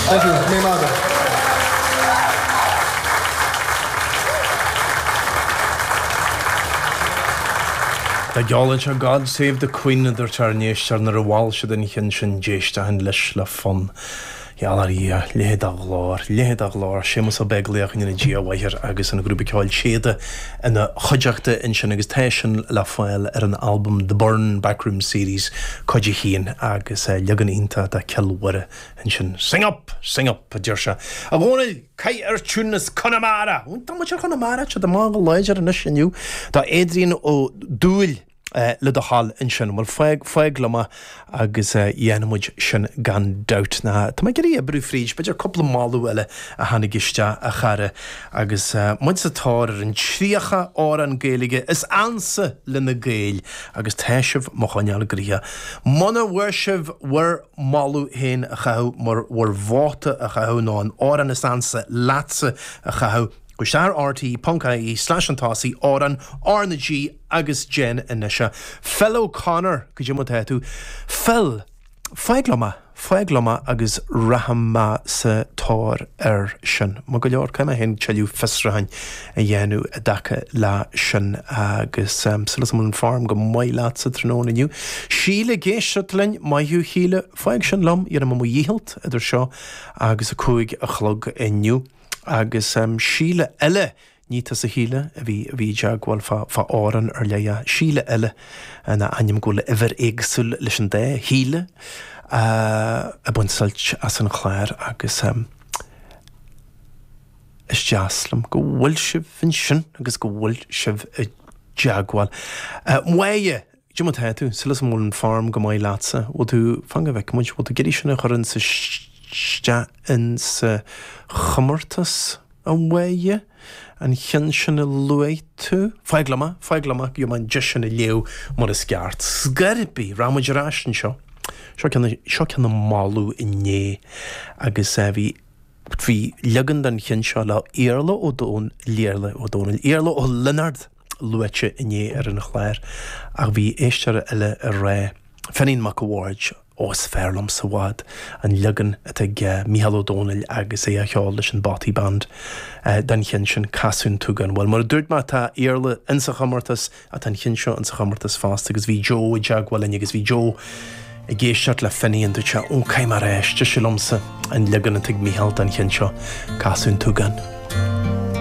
Thank you. Go raibh maith agat. Tá geall anseo God Save the Queen a dúirt ár n-éisteoir nuair a mhol siad an cheann sin d'éistfinn leis le fonn. Gheall ar Dhia, leithéid de ghlór, leithéid de ghlór, Séamus Ó Beaglaoich go ndéana Dia a mhaith air agus an grúpa ceoil Téada ina chuideachta ansin agus tá sin le fáil ar an albam The Burren Backroom Series Cuid 1 agus leagan iontach de Cill Mhuire ansin. Sing up! Sing up! a deir sé. A Dhónaill, caith ar tiún as Conamara! Tá muid ar Chonamara, tá siad amach go láidir anois inniu. Tá Adrian Ó Dúill le do thoil ansin. Bhuel, fág, fág liom é agus dhéanfaidh muid sin gan dabht. Ná, tá mé ag iarraidh oibriú fríd, b'fhéidir cúpla moladh eile a tháinig isteach, a chara, agus muid sa tóir ar an 30 amhrán Gaeilge is ansa le na Gaeil agus tá sibh mo choinneáil gnoitheach. Muna bhfuair sibh bhur moladh féin a chaitheamh, mar bhur vóta a chaitheamh nó an amhrán is ansa leatsa a chaitheamh, Gabh isteach ar rte ponc ie slash an tosaigh amhrán R na G agus déan anois é. Phil O'Connor, goidé mar tá tú? Phil, fág liom é, fág liom é agus rachaidh mé sa tóir air sin. Maith go leor, caithfidh mé féin tuilleadh fiosrúcháin a dhéanamh i dtaca le sin agus súil agam go bhfuil an form go maith leatsa tráthnóna inniu. Síle ag éisteacht linn, maith thú Shíle, fág sin liom, dhéanfaidh mé mo dhícheall idir seo agus a 5 a chlog inniu. Agus Síle eile, ní tusa Shíle a bhí a bhí i dteagmháil fá fá amhrán ar leith ach Síle eile in ainneoin go bhfuil uimhir éagsúil leis an dá Shíle ag baint suilt as an chlár agus is deas liom go bhfuil sibh ansin agus go bhfuil sibh i dteagmháil. Máire! Goidé mar tá tú, súil agam go bhfuil an form go maith leatsa. Bhfuil tú, fan go bhfeicfidh muid, bhfuil tú ag iarraidh sin a chur insa isteach insa chomórtas, a Mháire? An cheann sin a luaigh tú? Fág liom é, fág liom é, gheobhaidh mé an deis sin a léamh mar is ceart. Scor ar bith, rachaidh muid ar ais anseo. Seo ceann, seo ceann a moladh inné agus bhí, bhí leagan den cheann seo le Iarla Ó Dón, Iarla Ó Dónaill, Iarla Ó Lionáird. luaite inné ar an chlár ach bhí éisteoir eile ag rá, Finian Mac a' Bhaird, ó is fearr liomsa i bhfad an leagan atá ag Mícheál Ó Domhnaill agus é á cheol leis an Bothy Band den cheann sin, Casadh an tSúgáin. Bhuel, mar a dúirt mé, tá Iarla insa chomórtas ach tá an cheann seo insa chomórtas fosta agus bhí Joe i dteagmháil linn agus bhí Joe ag éisteacht le Finian, dúirt sé, ó caithfidh mé a rá, is deise liomsa an leagan atá ag Mícheál den cheann seo, Casadh an tSúgáin.